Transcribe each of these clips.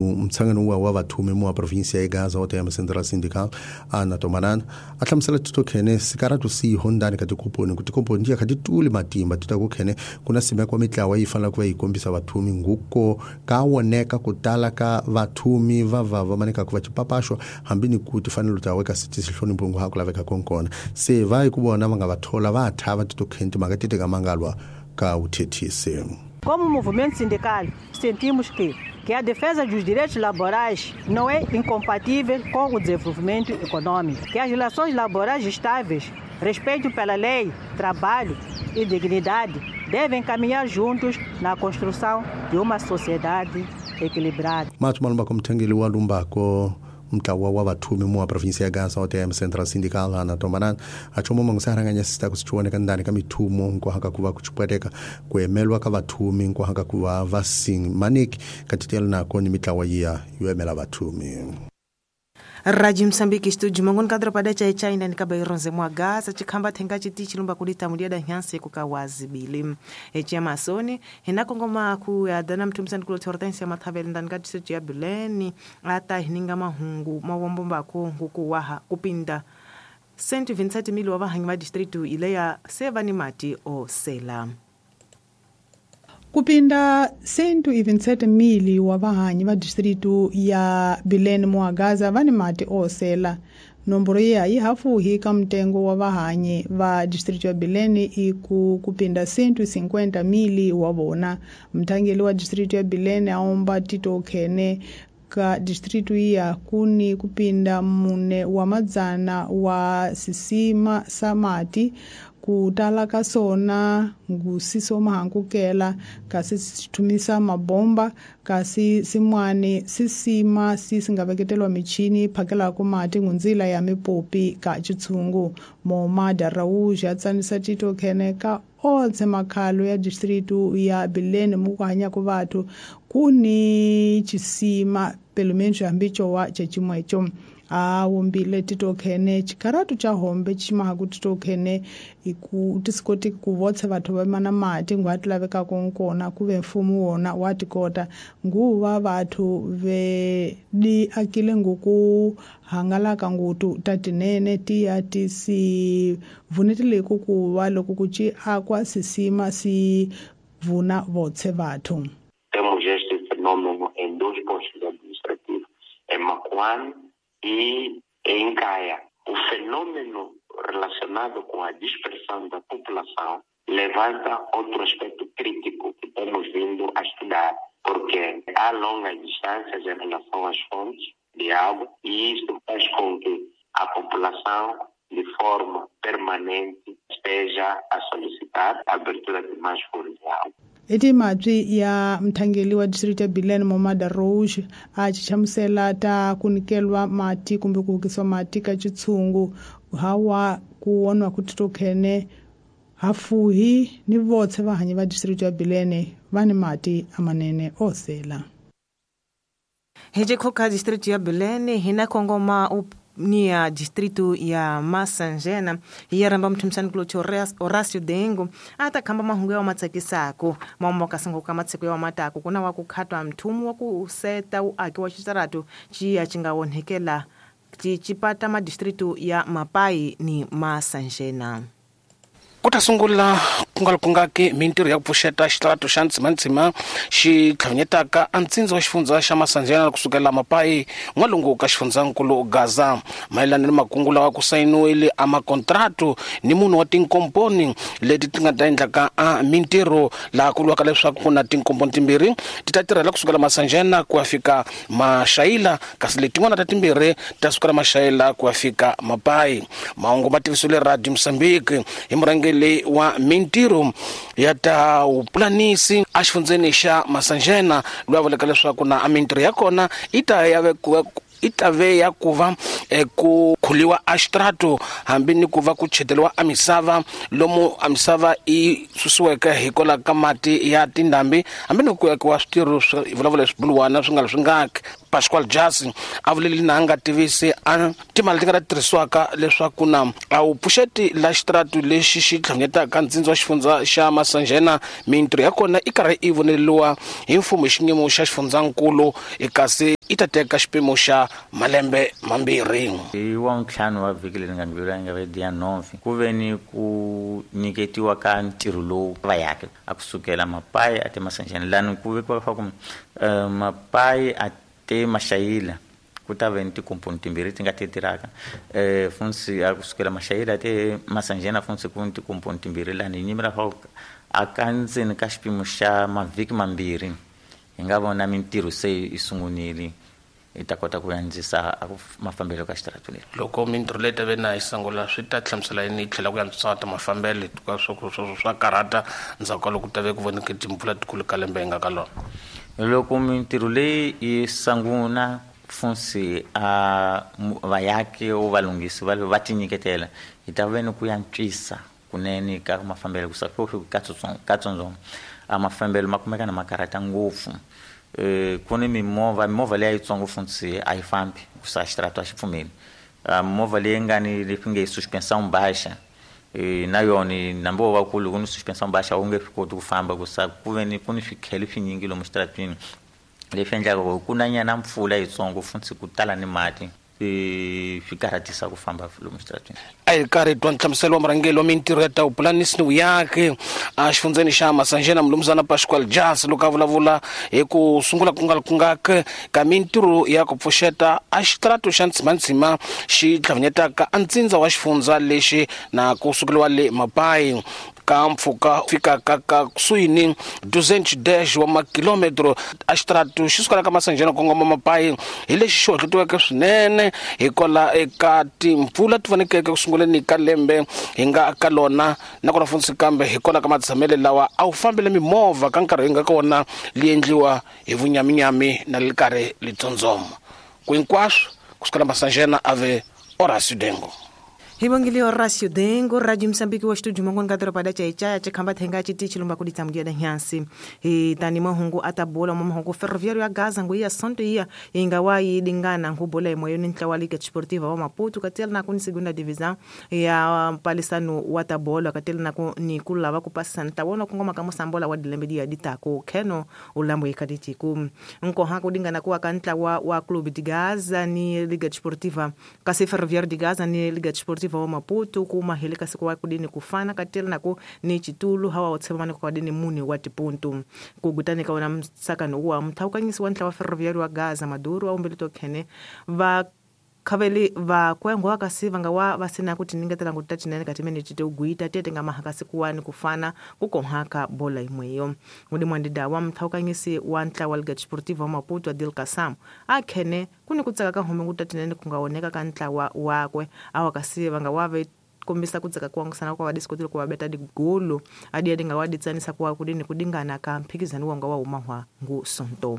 Mtshangano wa vathumi mu wa provinsia ya Gaza wa TM Central Sindical ana Tomanana a hlamusela titokhene sikaratu si hondani ka tikomponi ku tikomponi ti kha ti tuli matimba ti ta ku khene ku na simeko wa mitlawa yi fanele ku va yi kombisa vathumi nguko ka woneka ku tala ka vathumi va va va maneka ku va chipapaxo hambi ni ku tifanelo ta weka si hlonipho ngo ha ku laveka konkona se va yi ku vona va nga va thola va thava titokhene timhaka ti teka mangalwa ka uthethisi. Como movimento sindical, sentimos que a defesa dos direitos laborais não é incompatível com o desenvolvimento econômico, que as relações laborais estáveis, respeito pela lei, trabalho e dignidade devem caminhar juntos na construção de uma sociedade equilibrada. Mato Malumbako mthengeli wa Lumbako mtlawa wa vathumi mu wa provinsia ya Gaza wa TM Central Sindical ana Tomanana a chomo mangusaranganya sita kusichuoneka ndani ka mithumo nkwahaka ku va ku chipweteka ku emelwa ka vathumi nkwahaka ku va va sing manik katitela nako ni mitlawa yiya yo emela vathumi. Rádio Moçambique estúdio mangoni kadro pada cha China nikaba ironze mwa Gaza chikhamba thenga chiti chilumba kulita mulia da nyanse kukawazi bili echi Amazoni hinakongoma ku ya dana mtumsani kulo Hortensia Mathavele ndani ka district ya Bileni ata hininga mahungu mawombo ko nguku waha kupinda Saint Vincent mili wa vahangi va district ile ya Sevani mati o sela. Kupinda 127 mili wa vahanyi va distritu ya Bilene mwa Gaza va ni mati osela. Nomboro ya yi hafuhi ka mtengo wa vahanyi va distritu ya Bilene iku kupinda 150 mili wa vona. Mthangeli wa distritu ya Bilene aomba Tito Khene ka distritu ya kuni kupinda mune wa madzana wa sisima samati kutala ka sona ngusiso mahankukela kasi sithumisa mabomba kasi simwani sisima sisingaveketelwa michini phakelako mati ngunzila ya mipopi ka chitshungu. Momada Raúj ya tsanisa Tito Khene ka otse makhalo ya distritu ya Bilene mu ku hanyaka vathu kuni chisima pelo menos hambi cowa cecimweco. A wombile Tito Khene chikaratu cha hombe chimahaku Tito Khene iku tisikoti ku votse vathu va mana mati ngwa ti lavekaka nkona ku ve mfumo wona wa tikota nguva vathu ve di akile nguku hangalaka ngutu ta tinene ti ya ti si vunetile ku kuva loko ku ci akwa sisima si vuna votse vathu. Temos este fenômeno em dois postos administrativos, em Macuane e em Caia. O fenômeno relacionado com a dispersão da população levanta outro aspecto crítico que temos vindo a estudar, porque há longas distâncias em relação às fontes de água e isso faz com que a população, de forma permanente, esteja a solicitar a abertura de mais fontes de água. Eti mabyi ya mthangeli wa district ya Bilene Momada Rouge a chichamusela ta kunikelwa mati kumbe ku hukisiwa mati ka chitshungu hawa ku onwa ku Tito Khene hafuhi ni votse vahanyi va district ya Bilene va ni mati amanene osela. Heje khoka district ya Bilene hina kongoma ni ya distrito ya Masanjena ya ramba mthumsani kulo Horacio Dengo ata khamba mahungu ya matsakisako mambo kasango ka matsiko ya matako kuna wa kukhatwa mthumu wa ku seta uaki wa xitaratu chiya chinga wonhekela chipata ma distrito ya Mapai ni Masanjena. Ku ta sungula kungalukungaki mintirho ya ku pfuxeta xitaratu xa ntsimantsima xi tlhavanyetaka a ntsindza wa xifundza xa Masanjena kusukela Mapai n'walungu ka xifundzankulu Gaza mayelana ni makungu lawa ku sayiniwile a makontratu ni munhu wa tinkomponi leti ti nga ta endlaka a mintirho laha ku vuriwaka leswaku ku na tinkomponi timbirhi ti ta tirhela kusukela Masanjena ku ya fika Maxayila kasi letin'wana ta timbirhi ta sukela Maxayila ku ya fika Mapai. Mahungu ma tivisiwile Radio Mozambique hi murhangeri wa mintirho ya ta vupulanisi exifundzeni xa Masanjena loyi a vulaka leswaku na a mintirho ya kona yi ta ya vekiwa i tave ya ku va ku khuliwa a xitrato hambi ni ku va ku cheteliwa a misava lomu a misava i susiweke hikwalaho ka mati ya tindhambi hambi ni ku akiwa switirho swa vulavula swibuluwana swi nga swi ngaki. Pascual Jasi a vuleli na nga tivisi a timali ti nga ta tirhisiwaka leswaku na a wu pfuxeti la xitrato lexi xi tlhanyetaka ntsindza wa xifundza xa Masanjena mintirho ya kona i karhi i voneliwa hi mfumo hi xiyimo xa xifundzankulu kasi i ta teka xipimo xa malembe mambirhi. Hi wa ntlhanu wa vhiki leri nga ndlula nga ve dia 9 ku ve ni ku nyiketiwa ka ntirho lowu va yake a kusukela Mapai a te Masanjena lani ku vekiwa fa ku Mapai a te Mashayila ku ta ve ni tikomponi timbirhi ti nga ti tirhaka funsi a kusukela Mashayila te Masanjena funsi ku ni tikomponi timbirhi lani hi nyimela fa a ka ndzeni ka xipimo xa mavhiki mambirhi hi nga vona mintirho se yi sungunile i ta kota ku andzisa mafambelo ka xitrato leri. Loko mintirho leyi ta ve na yi sungula swi ta hlamusela yini yi tlhela ku antswisa ta mafambelo hikuva swo swa karhata ndzhaku ka loko ku ta ve ku voneke timpfula tikulu ka lembe hi nga ka lona. Loko mintirho leyi yi sungula funsi a vayaki o valunghisi va tinyiketela hi ta ve ni ku antswisa kunene ka mafambelo ku sa fika katsongo a mafambelo ma kumeka na ma karhata ngopfu. Ku ni mimovha leyi yitsongo funsi a yi fambi ku sa xitrato a xi pfumeli. Movha leyi nga ni leswi nge suspensão baixa na yona nambi wo va kulu ku ni suspensão baixa wu nge swi koti ku famba ku sa ku ve ni ku ni swikhele swinyingi lomu xitratwini leswi endlaka ku ku na nyana mpfula yitsongo funsi ku tala ni mati swi karhatisa ku famba lomu xitratwini. A hi karhi twa nhlamuselo wa murhangeri wa mintirho ya tawupulanisi ni vuyaki a xifundzeni xa Masanjena mulumuzana Pascual Jas loko a vulavula hi ku sungula ku nga kungaka ka mintirho ya ku pfuxeta a xitrato xa ntsimantsima xi tlhavanyetaka a ntsindza wa xifundza lexi na ku sukeliwa le Mapai ka mpfhuka fikaka ka kusuhi ni 210 wa makilometro a xitrato xi sukela ka Masanjena kongoma Mapai hi lexi xi hohlotiweke swinene hikwalaho eka timpfula ti vonekeke ku sunguleni ka lembe hi nga ka lona nakona funtsi kambe hikwalaho ka matshamele lawa a wu fambele mimovha ka nkarhi hi nga ka wona li endliwa hi vunyaminyami na li karhi litsondzoma ku hinkwaswo kusukela Masanjena ave Horacio Dengo. Hi vongile Horacio Dengo Radio Msambiki wa studio mangoni ka doroba da Chaichaya chikhamba thenga chiti chilumba kuditsa mudia da nyansi hi tani mahungu atabola mahungu Ferroviário ya Gaza ngu ya Santo iya inga wa yidingana ngubola emoyoni ntlawa Liga Desportiva wa Maputo katela na kuni segunda divisão ya mpalisano wa tabola katela na ni kulava kupasa ntawona kungoma ka musambola wa dilembe dia ditako keno ulambo ikaditi ku nkoha kudingana kuwa ka ntlawa wa Clube de Gaza ni Liga Desportiva kasi Ferroviário de Gaza ni Liga Desportiva wa Maputo kuma heleka siku wa kudini kufana katela nako ni chitulu hawa otsema kwa dini muni wa tipuntu kugutani ka wona msakano wa mthawukanyisi wa ntlawa Ferroviário wa Gaza Maduro wa umbelito khene va khaveli va kwengwa kasi vanga wa vasina kuti ningetela ngutatinene katimene tite uguita tete nga mahakasi kuwani kufana kukonhaka bola imweyo ngudi mwandida wa mthawukanyisi wa ntlawa Liga Desportiva wa Maputo Adil Kasam akhene kuni kutsaka ka home ngutatinene kungaoneka ka ntlawa wakwe awa kasi vanga wave kombisa kutsaka kuangusana kwa wadisikotile kwa beta digolo adi adi ngawaditsanisa kwa kudini kudingana ka mphikizano wanga wa umahwa ngu sonto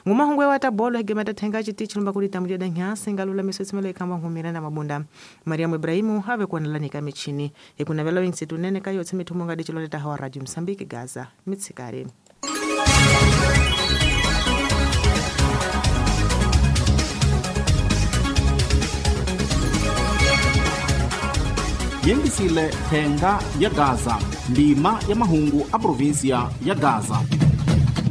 ngumahungwe wa tabolo hegemeta thenga chiti chilumba kulita mudia da nyasi ngalula miswetsimelo ikamba ngumira na mabunda Mariamu Ibrahimu have kuonelani ka michini ikunavela winsitu nene kayo tsimithumbo ngadi chiloleta hawa Radio Msambiki Gaza mitsikari. Yembisile thenga ya Gaza ndima ya mahungu a província ya Gaza.